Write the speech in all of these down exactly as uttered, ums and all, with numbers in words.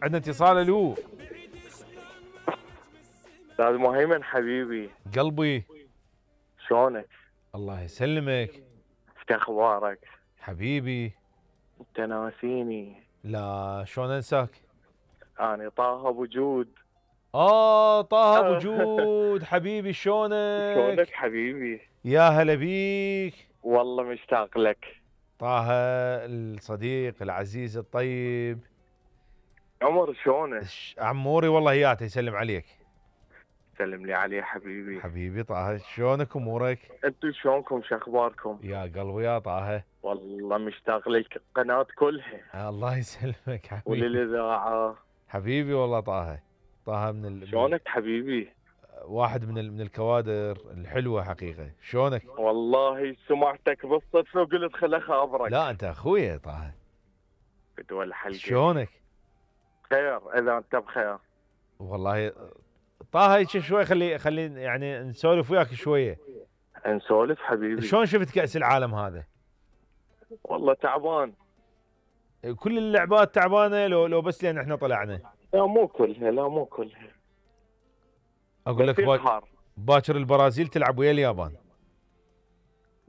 عندنا اتصال. الو استاذ مهيمن حبيبي قلبي، شلونك؟ الله يسلمك. شو اخبارك؟ حبيبي انت ناسيني. لا شلون انساك؟ انا طه ابو جود. اه طه ابو جود حبيبي، شلونك؟ شلونك حبيبي؟ يا هلا بيك. والله مشتاق لك طه الصديق العزيز الطيب. عمر شلونك؟ عموري والله ياته يسلم عليك. سلم لي عليه حبيبي. حبيبي طه، شلونك امورك؟ انتم شلونكم؟ شو اخباركم؟ يا قلبي يا طه. والله مشتاق لك القناة كلها. الله يسلمك حبيبي. وللاذاعة. حبيبي والله طه. طه من ال... شلونك حبيبي؟ واحد من ال... من الكوادر الحلوه حقيقه. شلونك؟ والله سمعتك بالصدفه وقلت خل اخابرك. لا انت اخويا طه. بدول الحلقه. شلونك؟ خير اذا انت بخير. والله طه هيك شوي، خلي خلي يعني نسولف وياك شويه. نسولف حبيبي. شلون شفت كأس العالم هذا؟ والله تعبان. كل اللعبات تعبانه لو لو بس لان احنا طلعنا؟ لا مو كلها، لا مو كلها. اقول لك با... باكر البرازيل تلعب ويا اليابان.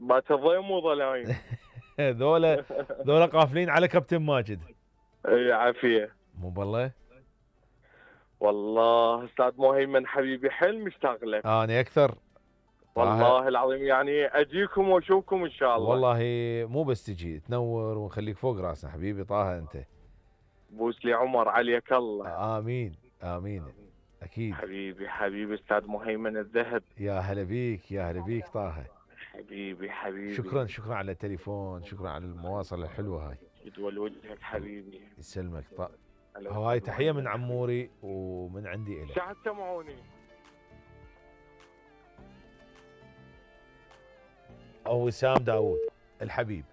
باكر ضيم وظلايم. ذولا ذولا قافلين على كابتن ماجد. اي عافيه. مو بالله. والله استاذ مهيمن حبيبي حيل مشتاق لك. انا اكثر والله العظيم، يعني اجيكم واشوفكم ان شاء الله. والله مو بس تجي تنور ونخليك فوق راسنا حبيبي طه انت. بوس لي عمر عليك الله. امين امين اكيد حبيبي حبيبي استاذ مهيمن الذهب. يا هلا بيك يا هلا بيك طه. حبيبي حبيبي. شكرا شكرا على التليفون، شكرا على المواصله الحلوه هاي. يدول وجهك حبيبي. يسلمك طه. هواي تحيه من عموري ومن عندي الك. شعد سمعوني. او وسام داوود الحبيب.